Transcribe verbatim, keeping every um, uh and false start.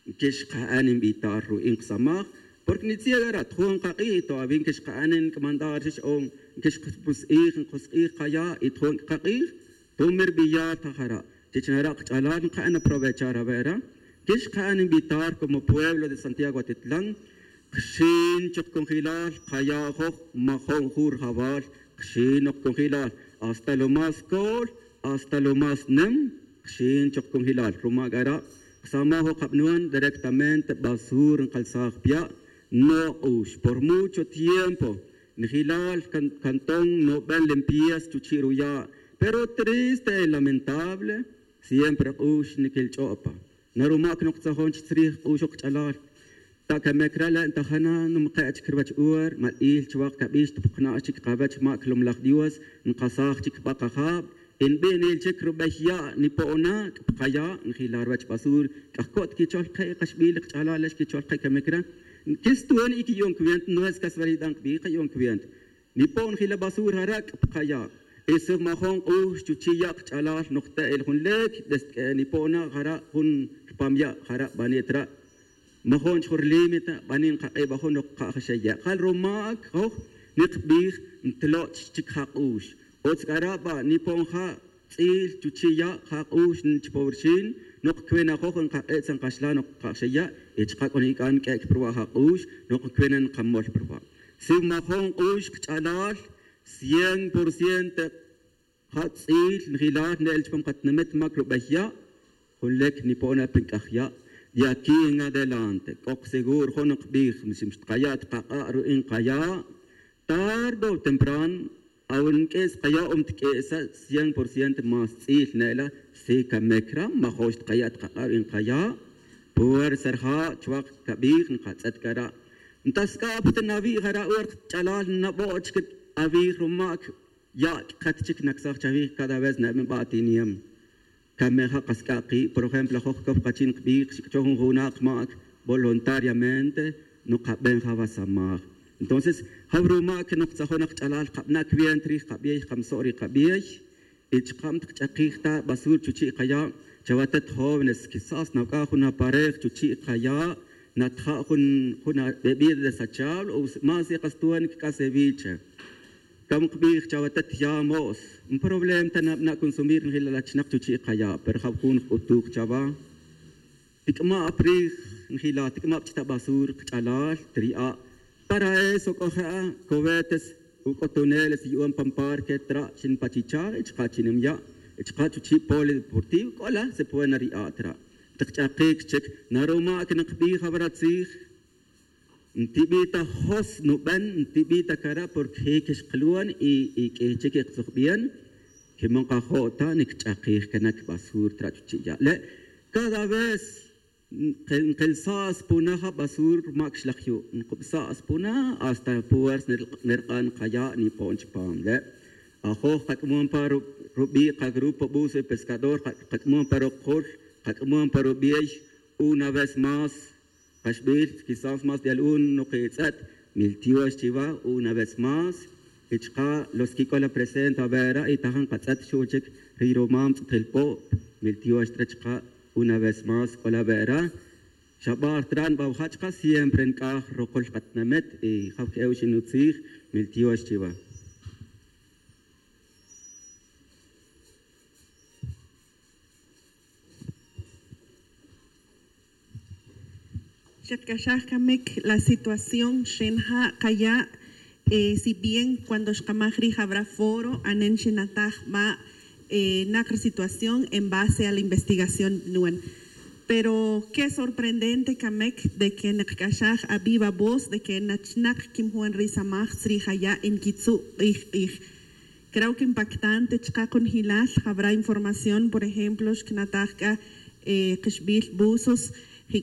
Nquixka'an invitar ru'in kasamaj, porque nitzi'el ara' tjun kak'ij y todavía nquixka'an nc'amantar chix'on nquixk'us k'ij nk'us k'ij kaya' y tjun kak'ij. Tumir biyar ta jara' chich nara' kach'alal nka'an aprovechar awe' ara'. Nquixka'an invitar como pueblo de santiago atitlan. Kxin chuk congelal kaya' joj majo'n jun rjawal. Kxin ok congelal hasta lo más col hasta lo más nem. Kxin chuk congelal ruma' k'ara' ksamaj ok kabnuan directamente basur nkalsaj pya'. Nok'ux por mucho tiempo. Njilal cantón noben limpieza chuchi' ruya'. Pero triste y lamentable siempre k'ux niquilch'o'pa. Naruma' cnok tzajon chi tzrij k'ux ok kach'alal. Ta camic ra' le' ntajana numke' chic ruwech ur mal'il chuwak cabix ta pukna' chic kawech ma' clomlaj dios. Nkasaj chic pa kajab y nbinil chic rubey ya' nipo'ona c'a pa kaya' njila ruwech basur. C'a jco't quichol ke' kaxbil kach'alal le' xquichol ke' camic ra'. Quistun y quiyu'un cuenta no es casualidad nkbij kayu'un cuenta. Nipo'n jila basur jara' c'a pa kaya' y si majo'n k'ux chuchi' ya' kach'alal nokte' el jun lec desde c'a nipo'na jara' jun rpam ya' jara' bani' tra'. Majo'n chijun rilímite bani' nkak'ib ajun nok ka'jaxe' ya' jal rumac joj nikbij ntloch chic jak'ux. Utz c'ara' ba' nipo'n ja' tz'il chuchi' ya' jak'ux chipowrxin. Nok cwinajoj nkak'ib tzan kaxlan nok ka'jaxe' ya' y chaka' c'o nic'an q'uec' pa ruwa' jak'ux. Nok cwina nkamol pa ruwa' si majo'n k'ux kach'alal cien por ciento. Ja' tz'il njilal ne'el chupam katinamit mac rubey ya'. Jun lec nipo'na pa nc'aj ya'. De aquí en adelante c'o seguro jun nkbij si xtakaya' ta kak'a' ru'in kaya'. Tarde o temprano awe' nq'uis kaya' o mtq'uisa cien por ciento más tz'il ne'la. Si camic ra' majo'n xtakaya' ta kak'a' ru'in kaya'. Puersa rija' chuwak cabij nkatz'et cara'. Ntasc'a' pa ta nawi' jara' wer kach'alal nabo' chic awij rumac. Ya' c'a cat chic nacsaj chawij cada vez neben ba' tiniem. Came ja' kasc'a' ki' por ejemplo joj cow kachin kbij xic'cho jun juna' kmac voluntariamente. Nukaben ja' wasamaj. Entonces jaw rumac noktzajun kach'alal kabana' cuenta rij kabiey kamso' rij kabiey. Y chaka' mtkich'akij ta basur chuchi' kaya'. Chawatet jóvenes quizás nawac'aj jun aparej chuchi' kaya'. Natja' jun jun bebida desechable o más y kastuan nic'asewiche. Cam kbij chawatet ya mo's. Nproblema ta nabana' consumir njila la chinak chuchi' kaya' pero jaw jun jc'utuj chawa. Tic'ma' pa rij njila tic'ma' pa chita' basur kach'alal tiri'a'. Para eso c'o je'a cohetes uc'o tuneles yu'un pan parque tra' chin pa chicha' y chaka' chinem ya'. Y chaka' chuchi' poli deportivo c'o la se puede nari'a' tra'. Tikch'akic chic naruma' que nikbij awara' tzij. Ntibi' ta jos nuben ntibi' ta cara' porque je' quixkluan y q'ui chic y ktzujbian. Quimon kajo' ta nicch'akij canac basur tra' chuchi' ya' le'. Cada vez nkelsa' spuna ja' basur rumac xlaj yu' nkubsa' spuna hasta puersa nerk'an kaya' nipo'n chupam le'. Ajoj kac'amon pa rubi' kagrupo buso y pescador kac'amon pa rukul kac'amon pa rubi'ey. Una vez más kaxbil quizás más de algun nukitz'et. Miltiox chiwa una vez más. Y chaka' los quic'ol apresente awera' y tajan katz'et xu' chic riy rumam tz'etel po'. Miltiox tra chaka' una vez más c'ol awera'. Xabar tra' nbawaja' chaka' siempre nc'aj rukul katinamit y jaw que'ew xinutzij. Miltiox chiwa. Xakc'axaj camic la situación xinja' kaya'. Si bien cuando xkamaj rij awra foro anen xinataj ba' nak ri situación en base a la investigación nuen. Pero que sorprendente camic de que nikc'axaj aviva voz de que nachinak quimjuan risamaj tzrij aya' y nquitzu' k'ij k'ij. Creo que impactante chaka' kunjilal jawra información por ejemplo xkinataj c'a kixbil buzos.